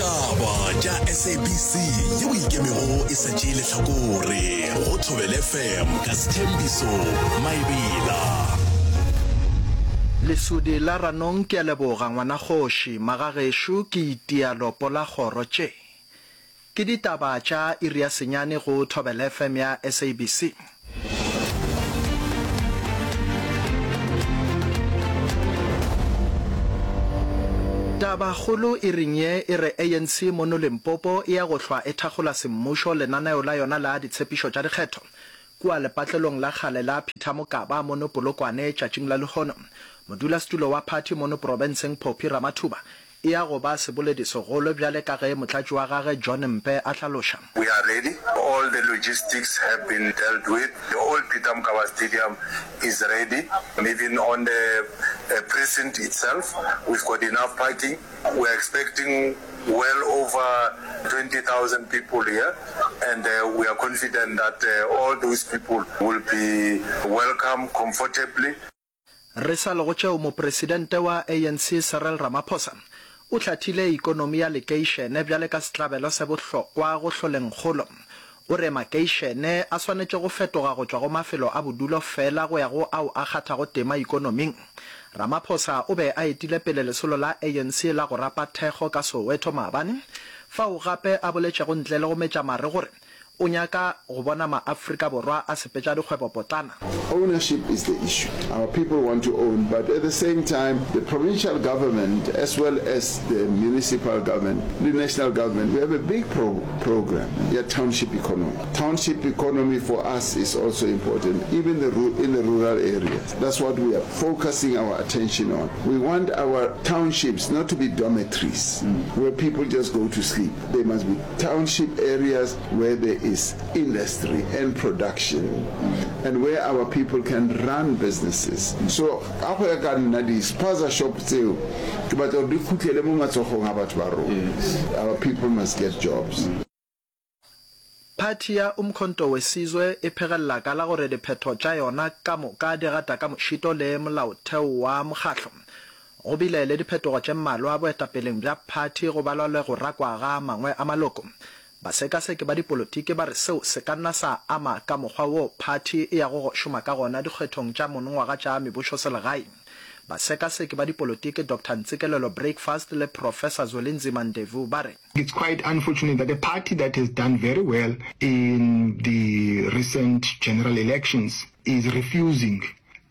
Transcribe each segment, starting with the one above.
Ditaba tša SABC yeo e ikemego e sa tšee lehlakore go Thobela FM ka Sthembiso Maebela. Lesodi la Ranong ke a leboga ngwanakgoši, magagešo ke itia lopo la kgoro tše. Ke ditaba tša iri ya senyane go Thobela FM ya SABC. Tabakgolo iring ye e re ANC mono Limpopo e ya go hlwa e thakgola semmušo lenaneo la yona la ditshepišo tša dikgetho kua lepatlelong la kgale la Peter Mokaba mono Polokwane tšatšing la lehono. Modulasetulo wa phathi mono profenseng Phophi Ramathuba E ya go ba seboledi segolo bjale ka ge motlatši wa gage John Mpe a hlaloša. We are ready, all the logistics have been dealt with, the old Peter Mokaba Stadium is ready, even on the precinct itself we've got enough parking, we are expecting well over 20,000 people here and we are confident that all those people will be welcome comfortably. Re sa le go tšeo, Mopresidente wa ANC Cyril Ramaphosa o hlathile ikonomi ya lekeišene bjale ka setlabelo se bohlokwa go hloleng kgolo. O re makeišene a swanetše go fetoga go tšwa go mafelo a bodulo fela go ya go ao a kgathago tema ikonoming. Ramaphosa o be a etile pele lesolo la ANC la go rapa thekgo ka Soweto maabane, fao gape a boletšego ntle le go metša mare gore O nyaka go bona maAfrika Borwa a sepetša dikgwebopotlana. Ownership is the issue. Our people want to own but at the same time the provincial government as well as the municipal government le national government we have a big pro program ya township economy. Township economy for us is also important even the in the rural areas. That's what we are focusing our attention on. We want our townships not to be dormitories where people just go to sleep. They must be township areas where there is industry and production and where our people can run businesses. So ka go ya ka nna di-spaza shop tseo ke batla gore di khutlele mo matsogong a batho ba rona. Our people must get jobs. Phathi ya Umkhonto we Sizwe e phegelela ka la gore diphetho tša yona ka moka di gata ka mošito le molaotheo wa mokgahlo. Go bile le diphetogo tše mmalwa boetapeleng bja phathi go balwa le go rakwa ga a mangwe a maloko. Basekaseki ba dipolotiki ba re seo se ka nna sa ama ka mokgwa wo phathi e yago go šoma ka gona dikgethong tša monongwaga tša mebušoselegae. Basekaseki ba dipolotiki Doctor Ntsikelelo Breakfast le Professor Zwelinzima Ndevu ba re. It's quite unfortunate that a party that has done very well in the recent general elections is refusing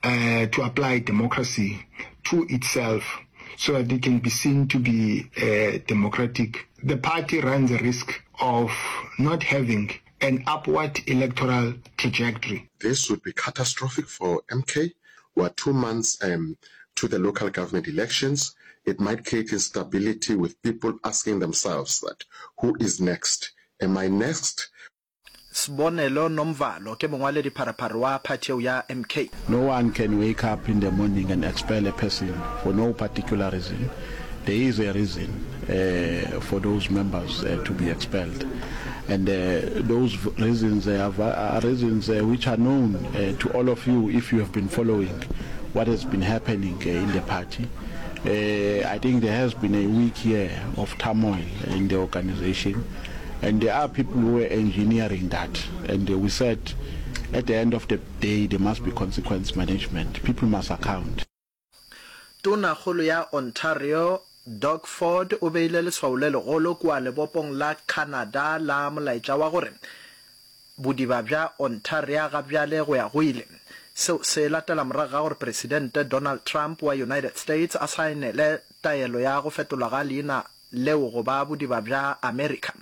uh, to apply democracy to itself so that it can be seen to be uh, democratic. The party runs a risk of not having an upward electoral trajectory. This would be catastrophic for MK. We are two months um, to the local government elections. It might create instability with people asking themselves that who is next? Am I next? Sbonelo Nomvalo ke mongwaledipharephare wa phathi yeo ya MK. No one can wake up in the morning and expel a person for no particular reason. There is a reason uh, for those members uh, to be expelled. And uh, those reasons uh, are reasons uh, which are known uh, to all of you if you have been following what has been happening uh, in the party. Uh, I think there has been a week here of turmoil in the organization. And there are people who were engineering that. And uh, we said at the end of the day, there must be consequence management. People must account. Tonakgolo ya Ontario, Doug Ford o beile leswao le legolo kua lebopong la Canada la molaetša wa gore bodiba bja Ontaria ga bjale go ya go ile. Seo se latela morago ga gore Presidente Donald Trump wa United States a saenele taelo ya go fetolwa ga leina leo go ba bodiba bja Amerika.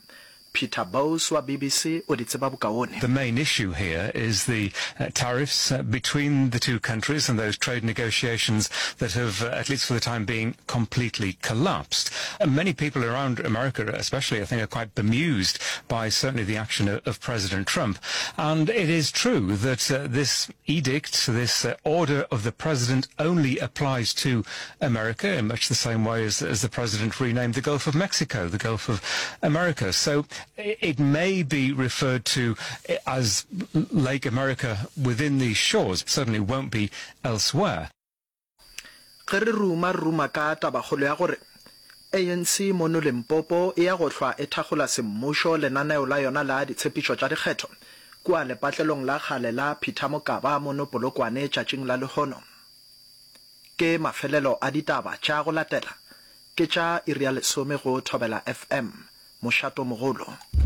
Peter Bowes wa BBC o di tseba bokaone. The main issue here is the tariffs between the two countries and those trade negotiations that have, at least for the time being, completely collapsed. Many people around America, especially, I think, are quite bemused by certainly the action of, of President Trump. And it is true that uh, this edict, this uh, order of the president only applies to America in much the same way as, as the president renamed the Gulf of Mexico, the Gulf of America. So it may be referred to as Lake America within these shores, certainly won't be elsewhere. Ge re ruma, re ruma ka tabakgolo ya gore ANC mono Limpopo e ya go hlwa e thakgola semmušo lenaneo la yona la ditshepišo tša dikgetho kua lepatlelong la kgale la Peter Mokaba mono Polokwane tšatšing la lehono. Ke mafelelo a ditaba tša go latela ke tša iri ya lesome go Thobela FM, mošatomogolo.